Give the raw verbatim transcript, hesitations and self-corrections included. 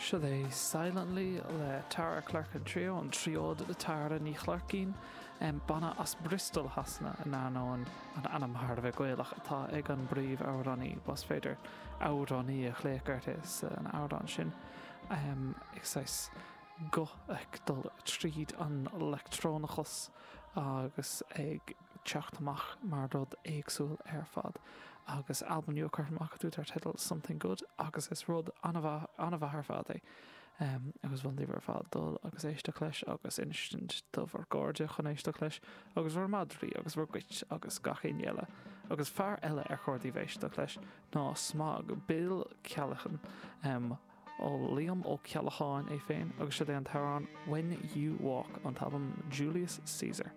Seo é Silently le Tara Clerkin Trio an triód Tara Ní Chlarcín banna as Bristol Shasana in ainneoin an ainm thar a bheith Gaelach atá ag an bpríomhamhránaí más féidir amhránaí a ghlaoch uirthi san amhrán sin ag saghas guth ag dul tríd an leictreonachas agus ag teacht amach mar rud éagsúil ar fad. agus albam nua curtha amach acu dar teideal Something Good agus is rud an-mhaith ar fad é. Um, agus mholfainn daoibh ar fad dul agus éisteacht leis agus insint do bhur gcairde chun éisteacht leis agus bhur madraí agus bhur gcait agus gach éinne eile. Agus fear eile ar chóir daoibh éisteacht leis ná Smog Bill Ceallachan um, ó Liam Ó Ceallacháin é féin agus seo é an t-amhrán When You Walk an t-albam Julius Caesar.